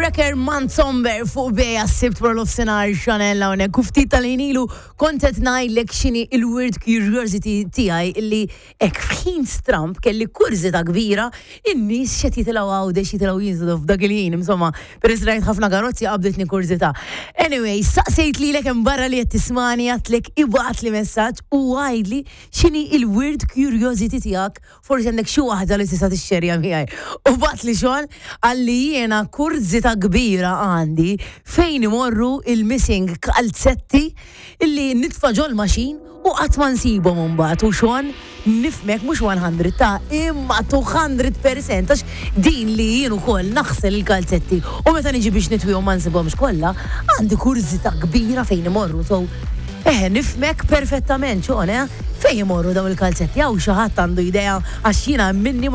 Wrecker Manzomber fuq Beja s-Sibt wara nofsinhar Chanel hawnhekk. U ftit tal-ħin ilu kont qed ngħidlek x'inhi il-weird curiosity tiegħi illi hekk f'ħin stramb kelli kurżità kbira in-nies x'qed jitilgħu Għawdex jitilgħu jinżlu f'dak il-ħin. Insomma, peress li rajt ħafna karozzi qabditni kurżità. Anyway, saqsejt lilek hemm barra li qed tismani għedtlek ibgħatli messaġġ u għidli x'inhi il-weird curiosity tiegħek. Forsi għandek xi waħda li tista' tixxerja miegħi. U bagħatli xogħol qalli jiena kurżità kbira għandi fejn imorru il-missing kalzetti illi nitfa' ġol-machine u qatt ma nsibhom imbagħad. U Sean nifhmek mhux 100 ta' imma 200% għax din li jien ukoll naħsel il-kalzetti u meta niġi biex nitwihom ma nsibhomx kollha, għandi kurżità kbira fejn imorru. So, eħe, nifhmek perfettament Sean, eh? Fejn imorru dawn il-kalzetti? Hawn xi ħadd għandu idea għax jiena minni ma.